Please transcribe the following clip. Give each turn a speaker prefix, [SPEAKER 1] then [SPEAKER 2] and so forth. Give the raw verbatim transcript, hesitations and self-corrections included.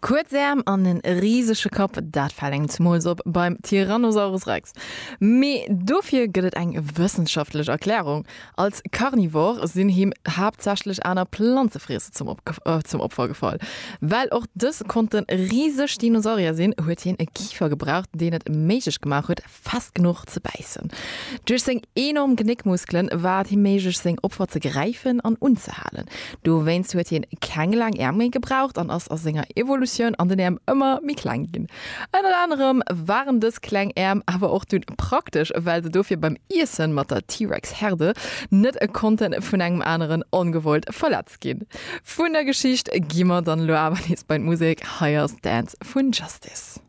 [SPEAKER 1] Kuerz Äerm an en risege Kapp, dat fält engem zemools op beim Tyrannosaurus Rex. Mee dofir gëtt et eng wëssenschaftlech Erklärung, Als Carnivore sinn him haaptsächlech aner Planzefriesser zum zum Opfer gefall. Well och dës konnte riseg Dinosaurier sinn, huet hien e Kifer gebraucht, deen et méiglech gemaach huet, fest genuch ze bäissen. Duerch seng enorm Genéckmuskelen war et him méiglech, seng Opfer ze gräifen an unzehalen. Dowéinst huet hien keng laang Äerm méi gebraucht an ass a senger Evolutioun an den Äerm ëmmer méi kleng ginn. Ënnert anerem waren dës kleng Äerm awer och dunn praktesch, well se dofir beim Iessen mat der T-Rex-Herde net konnte vun engem aneren ongewollt verletzt ginn. Vun der Geschicht gi mer dann elo awer nees bei d'Musek, hei ass Dance vun Justice.